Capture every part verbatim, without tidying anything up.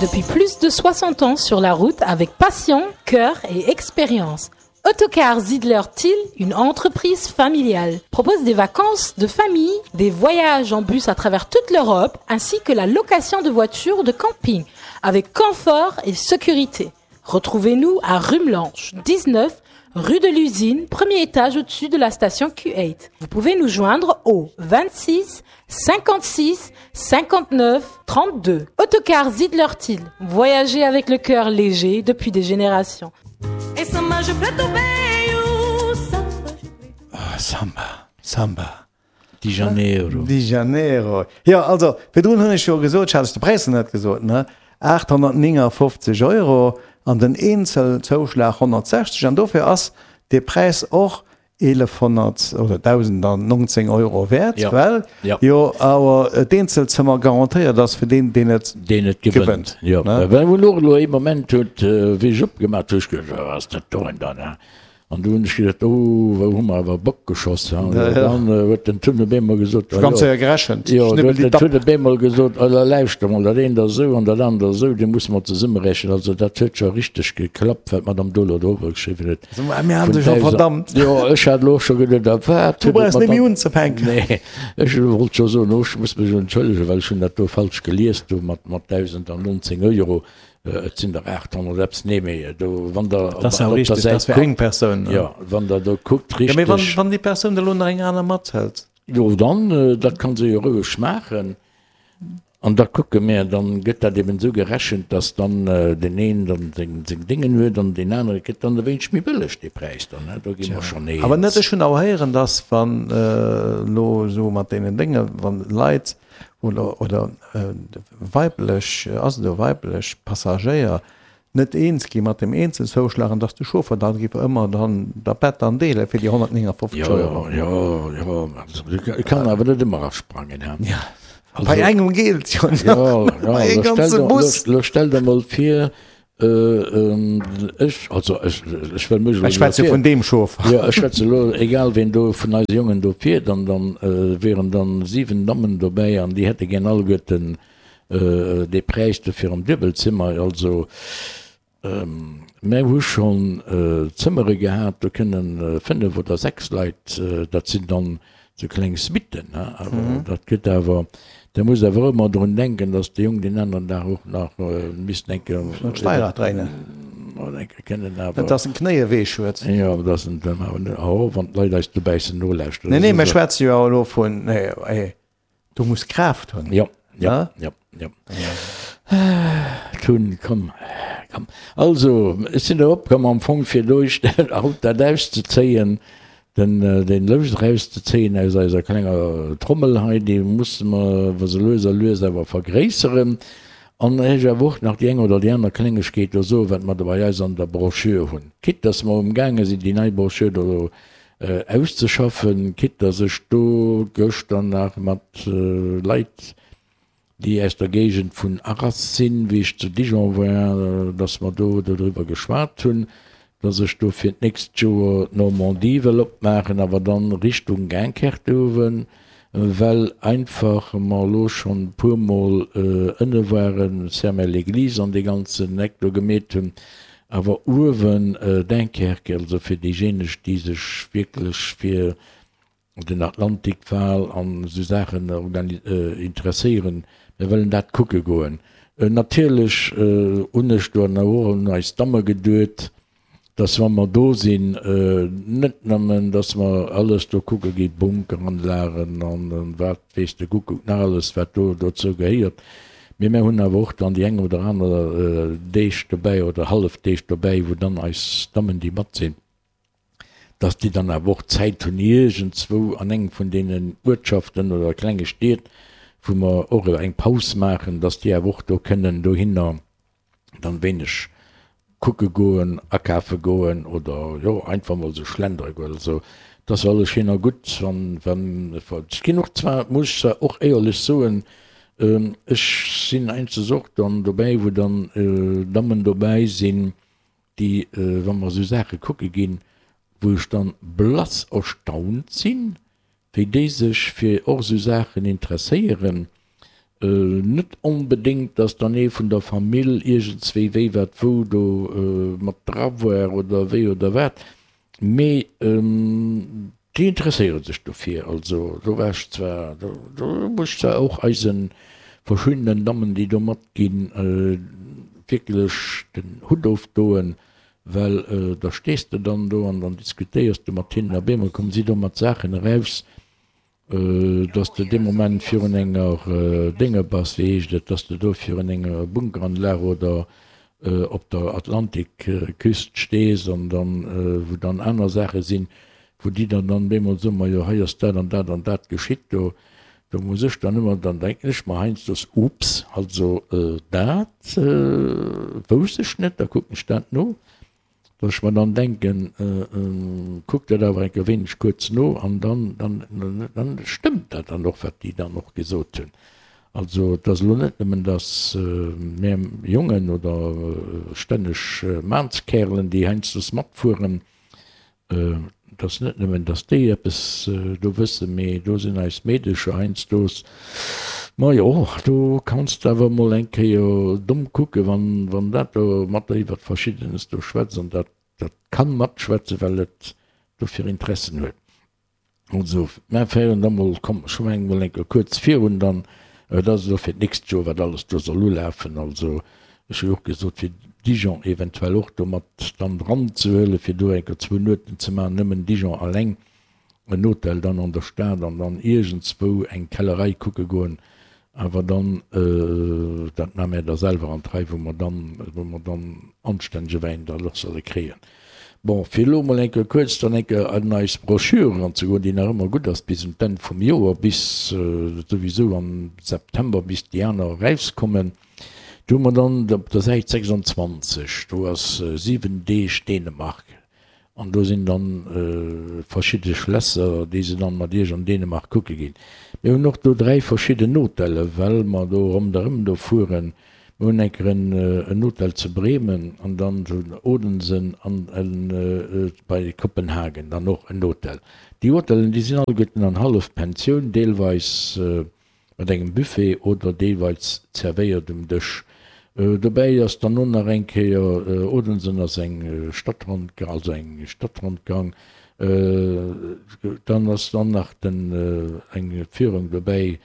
Depuis plus de soixante ans sur la route avec passion, cœur et expérience. Autocar Zidler Thill, une entreprise familiale, propose des vacances de famille, des voyages en bus à travers toute l'Europe, ainsi que la location de voitures de camping, avec confort et sécurité. Retrouvez-nous à Rumelange, dix-neuf, rue de l'usine, premier étage au-dessus de la station Q huit. Vous pouvez nous joindre au vingt-six cinquante-six cinquante-neuf trente-deux. Autocar Zidler Thill, voyagez avec le cœur léger depuis des générations. Et samba, je plais au pays, samba, je plais. Oh, Samba, Samba. Di Janeiro. Di Janeiro. Jo, also, virdrun hunn ech jo gesot, ech hat ech de Präis net gesot, ne? achthonnertneunundfünfzig Euro an den Eenzelzouschlag honnertsechzeg an dofir ass de Präis och elefhonnert oder tausendneunzehn Euro wäert, Ja. well Ja. jo awer d'Eenzelzëmmer garantéiert ass fir deen, deen et Deen et gewënnt. gewënnt, Ja. ne? Well wou elo ee Moment huet, äh, wéi ech opgemaach hu, ech gedacht, oh, was ass dat do denn dann, ne? An du hunn ech gedacht, oh, wou hu mer awer Bock geschoss, ha? Ja, ja. Dann, äh, huet den Tun op eemol gesot, Ech ganz ja. séier gerechent. Ja, Schnibbel du huet die den Dapp. Tun op eemol gesot, oh, da lauschter mol, dat eent ass esou an dat anert ass esou, déi musse mer zesummerechnen. Also dat huet scho richteg geklappt, wat d'Madame Dolo do geschriwwen huet. Also, mir haben Vun sich schon tausend- verdammt. Ja, ech hat elo scho gedacht, da wat Du huet brauchst d'Madame net méi unzefänken. Nee, ech wollt scho soen, oh, ech muss mech entschëllegen, well ech hunn dat do falsch gelies, do mat, mat tausendneunzehn Euro. Äh, et sinn der achthonnert Apps, nee, méi, do, wann der Das ist ja op der richtig, das Säit wär guckt, eng Persoun, ne? Ja, wann der do guckt, Ja, mee wann, richtig. wann déi Persoun da lo nach eng aner mathëlt? Jo, dann, äh, dat kann se jo roueg maachen. An da kucke mir, dann gëtt dat eben esou gerechent, dass dann, äh, den een dann seng, seng Dingen huet an den anere gëtt dann e wéineg méi bëlleg, dee Präis dann, ne? Do gi mer schon eens. Awer net, ech hunn awer héieren, dass wann, äh, lo so mat deenen Dinge, wann Leit oder, oder, äh, weiblech, ass et do weiblech Passagéier net eens gi mat dem Eenzelzouschlag, an dass de Chauffer dann giff ëmmer dann der Bett dann deele fir déi honnertneunundfünfzig Ja, Euro. ja, ja, also, ich kann awer net ëmmer asprangen, hä? Ja. Also, bei engem geht's jo Ja, nach. ja, Bei lo engem stell ganzen dir, Bus. lo, lo stell dir mal vir, äh, ähm, ech, also, ech, ech will mech Ich schwätze lo vun dem Chauffer. Ja, ech schwätze lo, egal wen do vun eise Jongen do fiert, an dann, äh, wären dann sieben Dammen dobäi an déi hätte gern alleguerten, äh, de Präis dofir am Duebelzimmer, also, ähm, mir hu schon, äh, Zëmmere gehat, do kënnen, äh, fënnef oder sechs Leit, äh, dat sinn dann so kleng Suiten, ne? Aber Mhm. dat gëtt awer, da muss awer ëmmer drun denken, dass de Jong den anderen Dag och nach, äh, misst denken, Muss noch Steirad reinen. Oder denke, kennen awer Net, dass en Knéie weh huet. Ja, aber das sind dann awer net, oh, wann d'Leit eis dobäi sinn, nolauschteren. Nee, nee, Das mir ist schwätzen jo elo vun, nee, ey, du musst Kraft hunn. Ja, ja, Ja? ja, ja. Tun, komm, komm. Also, ech sinn da opkomm am Fong fir durch haut dat auszezéien, den, äh, den Lous rauszezéien aus eiser klenger Trommel hei, déi musse mer so lues a lues awer vergréisseren. An ech awer och nach déi eng oder déi aner Klengegkeet do so, wat mer da bei eis an der Broschür hunn. Quitte, dass mer umgaange sinn, déi nei Broschür do, äh, auszeschaffen, quitte, dass ech do gëschter nach mat, äh, Leit, déi aus der Géigend vun Arras sinn, wéi ech zu Dijon war, dass mer do darüber geschwat hunn, dass ech do fir d'nächst Joer d'Normandie wëll opmaachen, awer dann Richtung Dunkerque uewen, well einfach mer elo schonn puer Mol, äh, ënne waren, Saint-Mel-l'Église an de ganzen Eck do gemeet hunn, awer uewen, äh, Dunkerque, also fir déijéineg, déi sech wierklech fir den Atlantikwal an so Saachen organi-, äh, interesséieren, mir wëllen dat kucke goen. Äh, natierlech, äh, hunn ech do nach och un eis Damme geduet, dass wann mer do sinn, äh, net nëmmen, dass mer alles do kucke gi, Bunkeranlagen an, an wat weess de Kuckuck nach alles, wat do dozou gehéiert. Mee mir hunn awer och dann déi eng oder aner, äh, Deeg dobäi oder hallef Deeg dobäi, wou dann eis Dammen, déi mat sinn, dass déi dann awer och Zäit hunn, iergendzwou an engem vun deenen Uertschaften oder klenge Stied, wou mer och eng Paus maachen, dass déi awer och do kënnen dohinner dann wéineg kucke goen, akafe goen oder jo, einfach mol so schlendere goen. Also, das war alles schön a gutt, wann, wann, ech ginn och zwar, muss ich zwar och éierlech soen, ähm, ech sinn einzes och dann dobäi, wou dann, äh, Dammen dobäi sinn, déi, äh, wann mer so Saache kucke ginn, wou ech dann blass erstaunt sinn, wéi déi sech fir och so Saachen interesséieren. Net onbedéngt, dass dann ee vun der Famill iergendswéi wéi wat wou do mat dra war oder wéi oder wat, mee déi interesséiere sech dofir. Also do war ech zwar, do muss ech zwar och eise verschiddenen Dammen, déi do matginn, wierklech den Hutt ofdoen, well da stees de dann do an dann diskutéiers de mat hinnen a op eemol komme si do mat Saachen eraus, dass de dee Moment virun enger Dénge bass, wéi heescht et, dass de do virun enger Bunkeranlag oder op der Atlantikküst stees an dann, wou dann aner Saache sinn, wou déi der dann bemol soen, majo hei ass dat an dat an dat geschitt do. Do muss ech dann ëmmer, dann denken ech mer heiansdo, Ups, also dat wousst ech net, da kucken ech dat no. Dass ech mer dann denken, kuck dat awer eng Kéier wéineg kuerz no an dann, dann, dann stëmmt dat dann och, wat déi dann och gesot hunn. Also et ass elo net nëmmen, dass mär Jongen oder stänneg Maanskäerlen, déi heiansdo matfueren, Et ass net nëmmen, datt déi eppes do wëssen, mee do sinn eis Meedecher heiansdo, majo, do kanns de awer emol eng Kéier domm kucken, wann, wann dat do mat der iwwert Verschiddenes do schwätzt an dat, dat kann matschwätzen, well et dofir Interessen huet. Also, mä féieren da mol, komm, ech mengen mol eng Kéier kuerz virun dann, et ass elo fir d'nächst Joer, wat alles do soll ulafen. Also, ech hu jo och gesot, fir Dijon eventuell och do mat dann dran ze huelen, fir do eng Kéier zwou Nueten ze maachen, nëmmen Dijon alleng, en Hotel dann an der Stad an dann iergendswou eng Kellerei kucke goen. Awer dann, dat maache mär da selwer an d'Rei, wou mer dann, wou mer dann anstännege Wäin dann och solle kréien. Bon, fir elo emol eng Kéier kuerz dann eng Kéier an eis Broschür eranzegoen, déi nach ëmmer gutt ass bis un d'Enn vum Joer, bis souwisou am September, bis déi aner erauskommen. Do hu mer dann op der Säit sechsundzwanzeg, do ass siwen Deeg Dänemark an do sinn dann verschidde Schlässer, déi se dann mat Iech an Dänemark kucke ginn. Mir hunn och do dräi verschidden Hotelle, well mer do ronderëm do fueren. Mir hunn eng Kéier en Hotel zu Bremen an dann zu Odense an bei Kopenhagen dann och en Hotel. Déi Hotellen, déi sinn alleguerten an Hallefpensioun, deelweis mat engem Buffet oder deelweis zerwéiert um Dësch. Dobäi ass dann och nach eng Kéier, Odense ass eng Stadtrondgang, also eng Stadtrondgang, dann ass dann nach den eng Führung dobäi,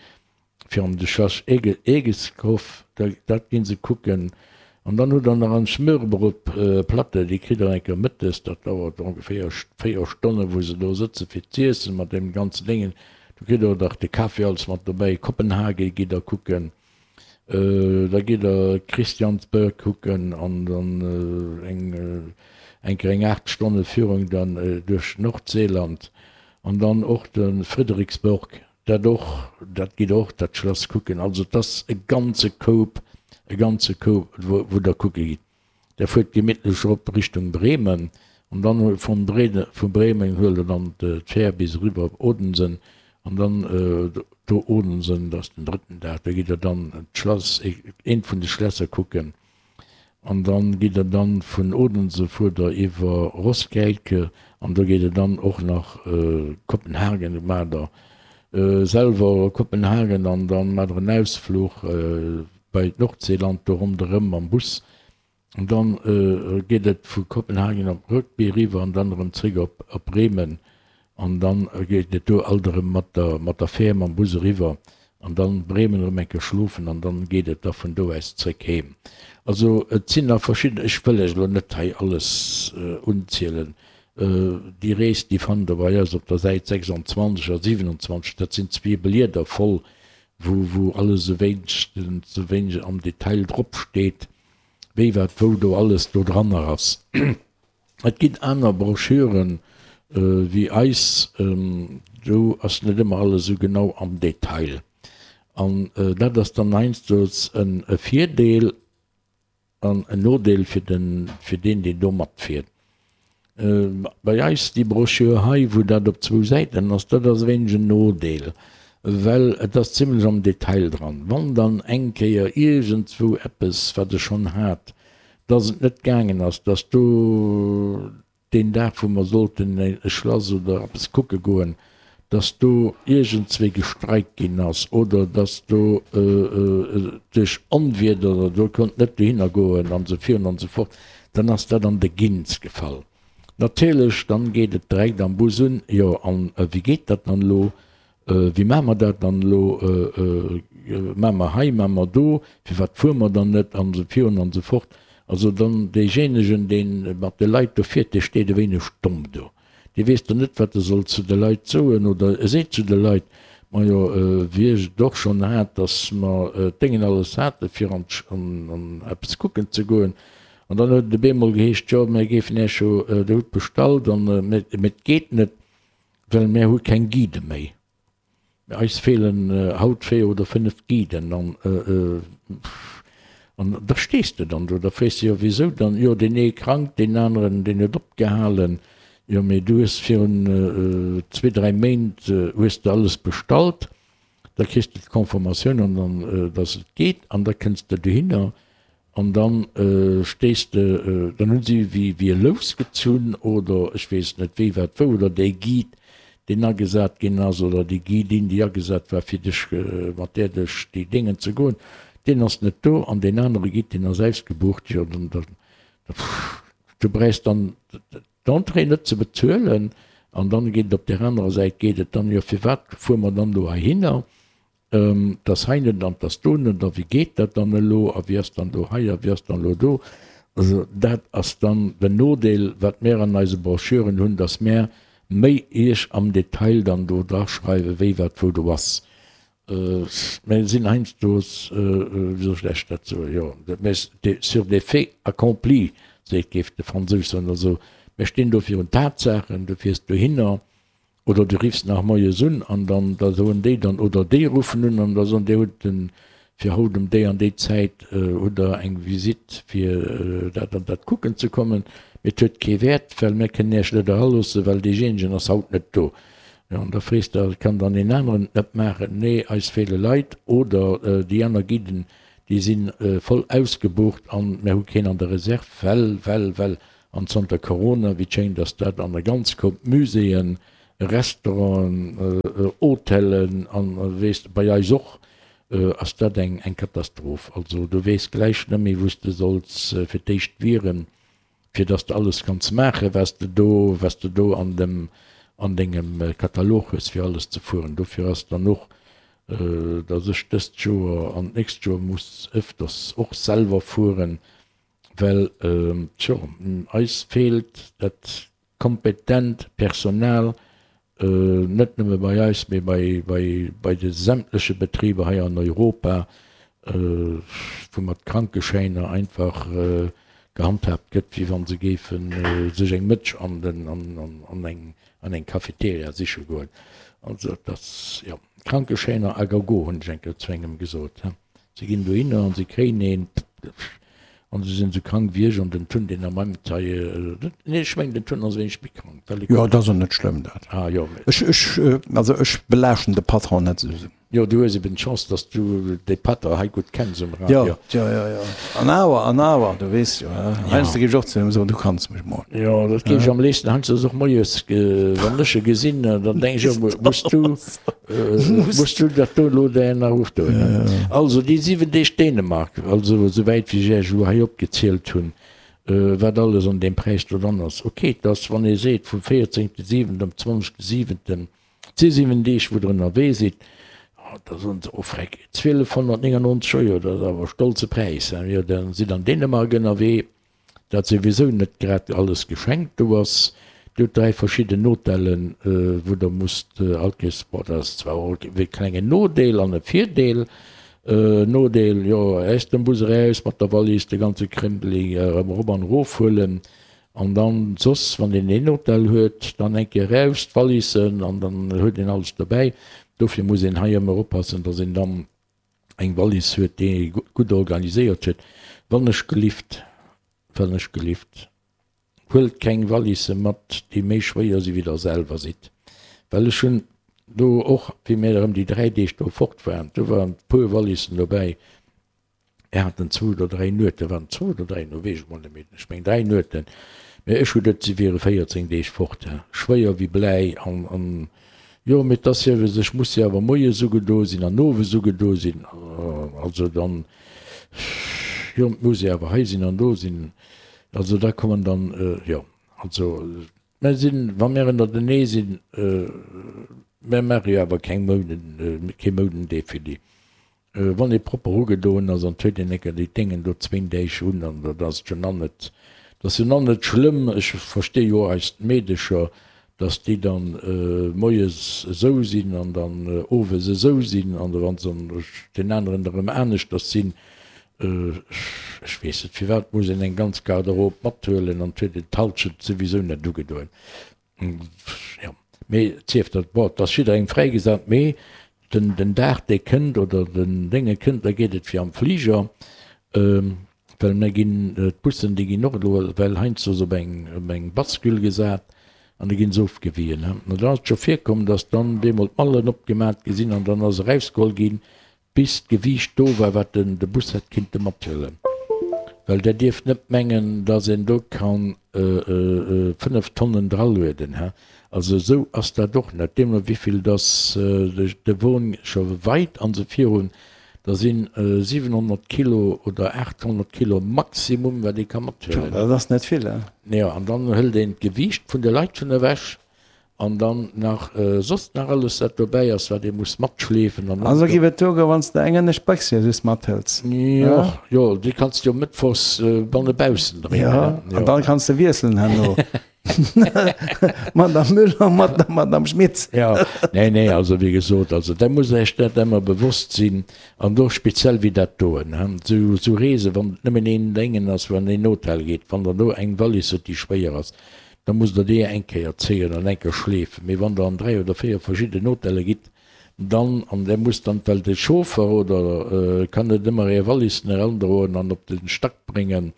fir an de Schlass Egeskov, dat ginn se kucken. An dann hutt der nach en Smørrebrødplatte, déi kritt der eng Kéier mëttes, dat dauert ongeféier véier Stonnen, wou se do sëtze fir z'iessen mat deem ganzen Déngen. Do kritt der och nach de Kaffi alles mat dobäi. Kopenhagen gitt der kucken, da gitt der Christiansburg kucken an dann eng eng Kéier eng aacht Stonne Führung dann duerch Nordseeland an dann och de Frederiksborg. Dat och, dat gitt och dat Schlass kucken. Also et ass e ganze Koup, e ganze Koup, wou Der kucke gitt. Der fuert gemittlech erop Richtung Bremen an dann vun vu Bremen huelt Der dann d'Fähr bis eriwwer op Odense an dann do Odense, dat ass den drëtten Dag, do gitt Der dann d'Schlass, eent vun de Schlässer kucken. An dann gitt der dann vun Odense fuert der iwwer Roskilde an do geet et dann och nach Kopenhagen, maacht der selwer Kopenhagen an dann maacht der en Ausfluch bei d'Nordseeland do ronderëm mam Bus an dann geet et vu Kopenhagen op Rugby eriwwer an dann erëm zréck op Bremen An dann geet et do alt erëm mat der, mat der Fähr, mam Bus eriwwer an dann Bremen erëm eng Kéier schlofen an dann geet et da vun do aus zréck heem. Also et sinn nach verschidden, ech wëll lech elo net hei alles unzielen. Déi Rees, déi fannt Der bei eis op der Säit sechsundzwanzeg a siewenundzwanzeg. Dat sinn zwee Blieder voll, wou, wou alles esou wéinstens esou wéineg am Detail drop steet, wéi wat wou do alles do dranner ass. Et ginn aner Broschüren wéi eis, do ass net ëmmer alles esou genau am Detail. An dat ass dann heiansdo e Virdeel an en Nodeel fir den, fir deen, deen do matfiert. Bei eis, déi Broschür hei, wou dat op zwou Säiten ass, dat ass e wéineg en Nodeel, well et ass zimlech am Detail dran. Wann dann eng Kéier iergendswou eppes, wat ech schonn hat, dass et net gaangen ass, dass do deen Dag, wou mer sollten e Schlass oder eppes kucke goen, dass do iergendswéi gestreikt ginn ass oder dass do duerch Onwieder oder do konnt net dohinner goen an esou virun an esou fort, dann ass dat an de Gins gefall. Natierlech, dann geet et direkt am Bus un, jo an wéi geet dat dann elo, wéi maache mer dat dann elo, maache mer hei, maache mer do, firwat fuere mer dann net an esou virun an esou fort. Also dann deejéinegen, dee mat de Leit do fiert, dee steet e wéineg domm do. Dee weess dann net, wat e soll zu de Leit soen, oder e seet zu de Leit, Majo, wéi ech et och schonn hat, datt mer d'Déngen alles hate fir an an eppes kucken ze goen, an dann huet et op eemol geheescht, jo, mir géifen Iech jo, Dir hutt bestallt, an mee et geet net, well mir hu keng Guidë méi. Eis feelen haut véier oder fënnef Guiden an an da stees de dann do, da frees de jo wisou dann, jo deen ee krank, deen aneren deen huet opgehalen, jo mee du hues virun zwee dräi Méint hues de alles bestallt, da kriss de d'Confirmatioun an dann datt et geet an da kënns de dohinner An dann stéiss de, dann hunn si wéi e Lous gezunn oder ech weess net wéi, wat, wou, oder dee Guide, deen agesat ginn ass, oder déi Guidin, déi agesat war, fir dech, mat där duerch déi Déngen ze goen, deen ass net do an deen anere Guide, deen ass ausgebucht. Jo, dann, dann, du bräichs dann d'Entrée net ze bezuelen. An dann geet et op där anerer Säit geet et dann, jo, firwat fuere mer dann do heihinner? 't ass hei net an 't ass do net a wéi geet dat dann elo a wéi ass dann do hei a wéi ass dann elo do. Also dat ass dann den Nodeel, wat mär an eise Broschüren hunn, dass mär méi Iech am Detail dann do draschreiwen, wéi wat wou do ass. Mär sinn heiansdo, wéi soll ech lech dat soen, jo, mär sur des faits accomplis, seet géif de Fransous soen. Also mär stinn do virun Tatsaachen, du fiers dohinner, Oder du riffs nach moies un an dann da soen déi dann, oder déi ruffen un an da soen, Dir hutt den, fir haut um déi an déi Zäit hutt Der eng Visitt fir dat an dat kucken ze kommen, mee et huet kee Wäert, well mir kënnen Iech net eraloossen, well deejéinegen ass haut net do. Jo, an da frees de, kann dann een aneren et net maachen? Nee, eis feele Leit oder déi aner Guiden, déi si voll ausgebucht an mir hu keen an der Reserve, well, well, well. An zanter Corona, wéi et schéngt, ass dat an der ganz Koup Muséeën, Restauranten, Hotelen an weess de, bei eis och, ass dat eng eng Katastroph. Also du weess gläich net méi wou s de solls fir d'éischt wieren, fir dass de alles kanns maachen, wat s de do, wat s de do an dem an dengem Katalog hues fir alles ze fueren. Dofir ass dann och, dass ech dëst Joer an d'nächst Joer muss ëfters och selwer fueren, Well, tjo, eis feelt dat kompetent Personal, net nëmme bei eis, mee bei de sämtleche Betriber hei an Europa, wou mat Krankeschäiner einfach gehandhaabt gëtt, wéi wa se géife sech eng Mëtsch an eng Cafeteria siche goen. Also et ass, jo, Krankeschäiner à gogo, hunn ech eng Kéier zu engem gesot. Se ginn dohinner an se kréien een. An se sinn esou krank wéi ech an den Tun, deen am Amt hei, nee, ech mengen den Tun ass e wéineg méi krank, well e. Jo, et ass och net schlëmm dat. Ah jo, mee. Ech, ech, also ech belaaschten de Patron net esou. Jo, du hues eben d'Chance, dass du de Patron hei gutt kenns um Radio. Jo, jo, jo, jo. An awer, an awer, du weess jo, he, heiansdo géif ech och zu him soen, du kanns mech mol. Jo, dat géif ech am léifsten heiansdo och moies, wann ech e gesinn, dann denk ech och, muss du, Muss du dat do elo där nach ofdoen? Also déi siwen Deeg Dänemark, also esouwäit wéi ech Iech elo hei opgezielt hunn, wat alles an deem Präis do dran ass. Ok, et ass, wann ee seet vum véierzéngte siwenten op zwanzegste siwenten, si siwen Deeg wou Der ënnerwee sidd, da soen se, oh freck, zwielefhonnertnéngennonzeg Euro, dat ass awer e stolze Präis. Jo, da sidd an Dänemark ënnerwee. Dat souwisou net grad alles geschenkt do ass. Dir hutt dräi verschidden Hotellen, wou der musst all Kees, bon, dat ass zwar och e klengen Nodeel an e Virdeel. Nodeel, jo, aus dem Bus eraus mat der Wallis, de ganze Krémpeli erëm erop an erof huelen an dann soss, wann een een Hotel huet, dann eng Kéier eraus d'Wallissen an dann huet een alles dobäi. Dofir muss een hei ëmmer oppassen, dass een dann eng Wallis huet, déi ee gutt organiséiert huet. Wann ech gelift, wann ech gelift, huelt keng Wallisse mat, déi méi schwéier si wéi der selwer sidd. Well ech hunn do och, wéi mir erëm déi dräi Deeg do fort waren, do waren e puer Wallissen dobäi, mir haten zwou oder dräi Nueten, waren et zwou oder dräi, elo weess ech mol net méi, ech meng dräi Nueten, mä ech hu geduet, si wiere véierzéng Deeg fort, schwéier wéi Bläi an, an Jo, mee 't ass jo, ech muss jo awer moies ugedo sinn an owes ugedo sinn. Also dann, jo, et muss ee awer hei sinn an do sinn. Also da kommen dann, jo, also mer sinn, wa mir ënnertenee sinn, mer maache jo awer keng Mouden, kee Moudendefilé. Wann ee propper ugedoen ass an 't huet een enker déi Déngen do zwéin Deeg un an dat ass jo nach net, dat ass jo nach net schlëmm. Ech versti jo och eis Meedecher, dass déi dann moies esou sinn an dann owes esou sinn an wa se dann deen aneren erëm aneschters sinn. Ech weess net, firwat muss een eng ganz Garderobe mathuelen an 't huet een d'Halschent souwisou net ugedoen. Jo, mee et sief dat, bon, et ass jidderengem fräigesat, mee den, den Dag, dee kënnt, oder den Dénge kënnt, da geet et fir am Fliger, well mir ginn, d'Bussen, déi ginn och elo well heiansdo op eng, op eng Bascule gesat an da ginn se ofgewien. An dann ass et scho virkomm, datt dann bemol d'Mallen opgemat gi sinn an dann ass erausgeholl ginn, bis d'Gewiicht do war, wat den de Bus hätt kinnte mathuelen. Well Der dierft net mengen, dass een do ka fënnef Tonnen dralueden, he. Also esou ass dat och net. Deemno wéivill dass de Won scho weit an esou virun, da si siwenhonnert Kilo oder aathonnert Kilo Maximum, wat ee ka mathuelen. Dat ass net vill, he. Jo, an dann hëlt een d'Gewiicht vun de Leit schonn ewech. An dann nach soss nach alles wat dobäi ass, wat ee muss matschleefen an. Also giff et do goen, wann s de eng ënnescht Béchs jo just mathëls. Jo, jo, déi kanns de jo mëttwochs banne baussen dréinen. Jo, an dann kanns de wiesselen herno. Madame Müller mat der Madame Schmitz. Jo, nee, nee, also wéi gesot, also da musst Der Iech dat emmer bewosst sinn an och speziell wéi dat doen, hein, sou, sou Reesen, wann et nëmmen een Déngen ass, wou an een Hotel geet, wann Der do eng Wallis hutt, déi schwéier ass, Da musst der déi eng Kéier zéien an eng Kéier schleefen. Mee wann der an dräi oder véier verschidden Hotelle gitt, dann, an där musst dann, well de Chauffer oder kann net ëmmer är Wallissen erandroen an op de Stack bréngen,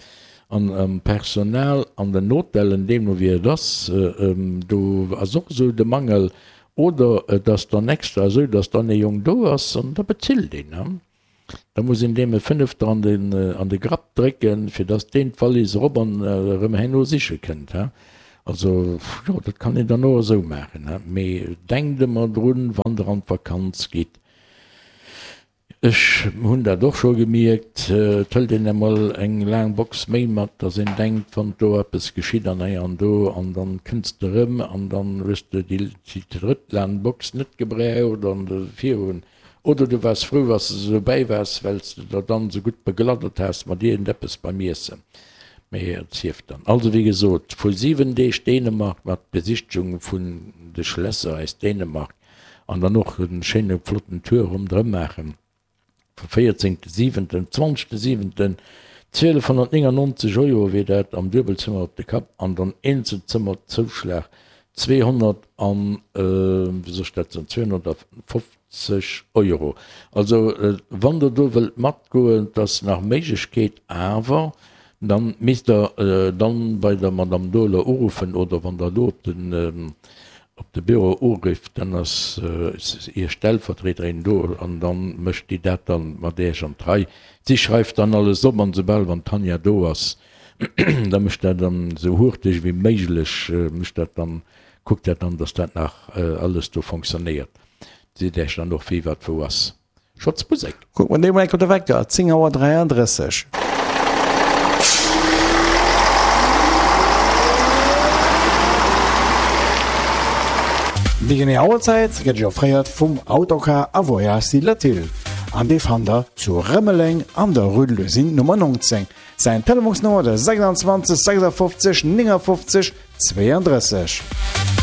an am Personal an den Hotellen, deemno wéi et ass, do ass och esou de Mangel, oder et ass dann extra esou, dass dann ee Jong do ass an da bezilt een. Da muss een deem e Fënnefter an den, an de Grapp drécken, fir dass deen d'Wallis erop an erëm herno siche kënnt, he. Also, jo, dat kann een dann och esou maachen, he. Mee denkt ëmmer drun, wann Der an d'Vakanz gitt, ech hunn dat och scho gemierkt, et hëlt een emol eng laang Box méi mat, dass een denkt, wann do eppes geschitt an hei an do, an dann kënns de erëm an dann hues de déi drëtt laang Box net gebraucht an virun. Oder du waars frou, wa s de dobäi waars, well s de der dann esou gutt begladdert has mat iergendeppes beim Iessen. Mee et sief dann. Also wéi gesot, vu siwen Deeg Dänemark mat Besichtegung vun de Schlässer aus Dänemark an dann och e schéine flotten Tour ronderëm maachen, vum véierzéngte siwenten, zwanzegste siwenten, zwielefhonnertnéngannonzeg Euro wier dat am Duebelzëmmer op de Kapp an dann Eenzelzëmmerzouschlag zweehonnert an, wéi soll ech dat soen, zweehonnertfofzeg. Zeg Euro. Also wann der do wëllt matgoen, et ass nach Méiglechkeet, awer dann misst der dann bei der Madame Dohler uruffen oder wann der elo op den op de Büro urifft, dann ass Ier Stellvertriederin do an dann mécht déi dat dann mat Iech an d'Rei. Si schreift dann alles op an soubal wann d'Tanja do ass, da mécht dat dann esou hurteg wéi méiglech mécht dat dann, kuckt dat dann, dass dat nach alles do fonctionnéiert. Seet Äech dann och wéi wat wou ass. Schotz Musek. Kuck mer deemol enk op de Wecker, zéng Auer dräiandrësseg. Déi genee Auerzäit gëtt Iech offréiert vum Autocar a Voyages Latil an dee fannt der zu Rëmeleng an der Rue de l'Usine Nummer neunzéng. Säin Telefonsnummer de sechsundzwanzeg sechsundfünfzig neunundfünfzig zweiunddrësseg.